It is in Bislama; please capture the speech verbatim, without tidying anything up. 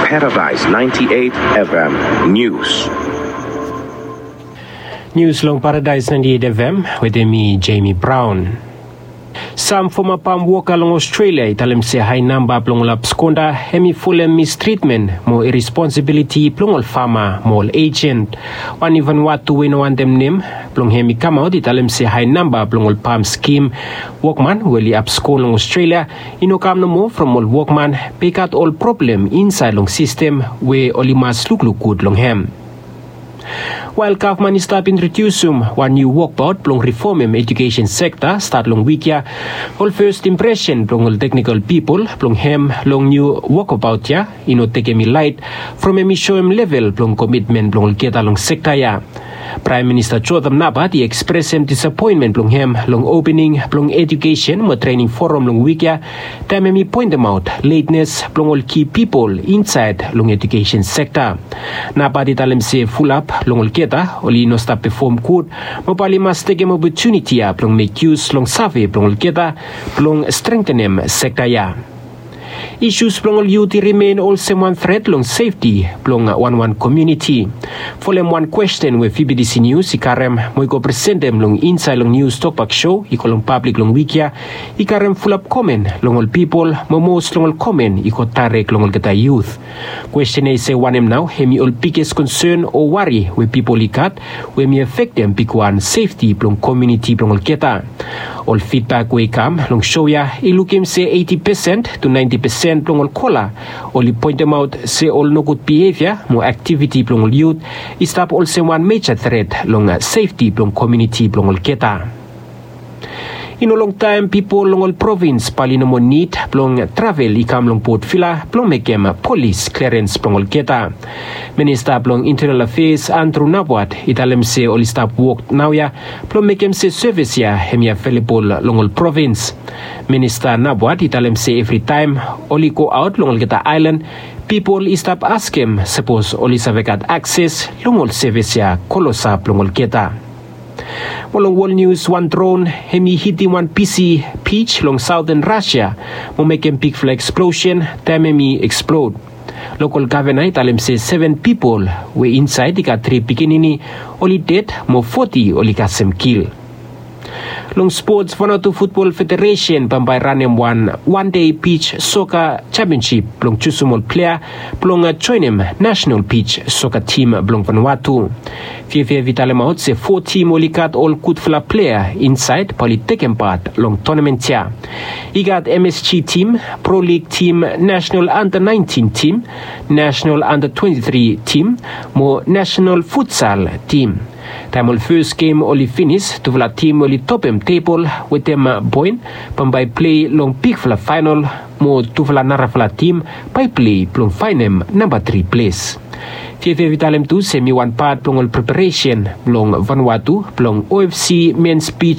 Paradise ninety-eight F M News. Nius long Paradise ninety-eight F M wetem mi, Jamie Brown. Sam foma pam woka long Australia i talem se hae namba blong ol abskonda hem i folem mistritmen mo iresponsibiliti blong ol fama mo ol ejen. Wan iven watu we i no wantem nem blong hem i kamaot i talem se hae namba blong ol pam skim wokman we oli abskon long Australia i no kam nomo from ol wokman, be i gat ol problem insaed long sistem we oli mas lukluk gud long hem. Wael gavman i stap introdiusum wan niu wokbaot blong rifomem ejukesen sekta stat long wik ya, ol fes impresen blong ol teknikol pipol blong hem long niu wokbaot ya i no tekem i laet from hem i soem level blong komitmen blong olgeta long sekta ya. Praem Minista Jotham Napat i ekspresem disapoenmen blong hem long opening blong ejukesen mo trening foram long wik ya, taem hem i poentemaot letnes blong ol ki pipol insaed long ejukesen sekta. Napat i talem se fulap long olgeta oli no stap pefom gud, mo bae oli mas tekem opotuniti ya blong mek yus long save blong olgeta blong strengtenem sekta ya. Isus blong ol yut i rimen olsem wan tret long sefti blong wanwan komuniti. Folem wan kwesten we VBTC Nius i karem mo i go presentem long insaed long nius tokbak sou i go long pablik long wik ya, i karem fulap komen long ol pipol mo mos long ol komen i go daerek long olgeta yut. Kwesten ya i se wanem nao hem i ol biges konsen o wari we pipol i gat we hem i afektem bigwan sefti blong komuniti blong olgeta. Ol fidbak we i kam long sou ya i lukim se eiti pesen tu naenti pesen blong ol kola oli poentemaot se ol nogud bihevia mo aktiviti blong ol yut i stap olsem wan meja tret long sefti blong komuniti blong olgeta. I no longtaem pipol long ol provins bae oli no moa nid blong travel i kam long Port Vila blong mekem polis klerens blong olgeta. Minista blong Intenal Afeas Andrew Nabwat i talem se oli stap wok naoia blong mekem se sevis ya hem i avelebol long ol provins. Minista Nabwat i talem se evritaem oli goaot long olgeta aelan, pipol i stap askem sapos oli save gat akses long ol sevis ya klosap long olgeta. Mo long wol nius, wan dron hem i hitim wan bisi bij long saoten Rasia mo mekem bigfala eksplosen taem hem i eksplod. Lokol gavena i talem se seven pipol we insaed i gat tri pikinini oli ded mo foti oli kasem kil. Long spots, Vanuatu Futbol Federesen bambae ranem wan wan dei bij soka jampionsip blong jusum ol plea blong joenem nasenal bij soka tim blong Vanuatu. Fiafia i talemaot se fo tim oli gat ol gudfala plea insaed bae oli tekem pat long tonamen ya. I gat MSG tim, Pro Lig tim, nasenal anda naentin tim, nasenal anda twenti tri tim mo nasenal futsal tim. Taem ol fes gem oli finis, tufala tim oli topem tebol wetem poen bambae plei long bigfala faenol mo tufala narafala tim bae plei blong faenem namba tri ples. Fiafia i talem tu se hem i wan pat blong ol preparesen blong Vanuatu blong OFC mens bij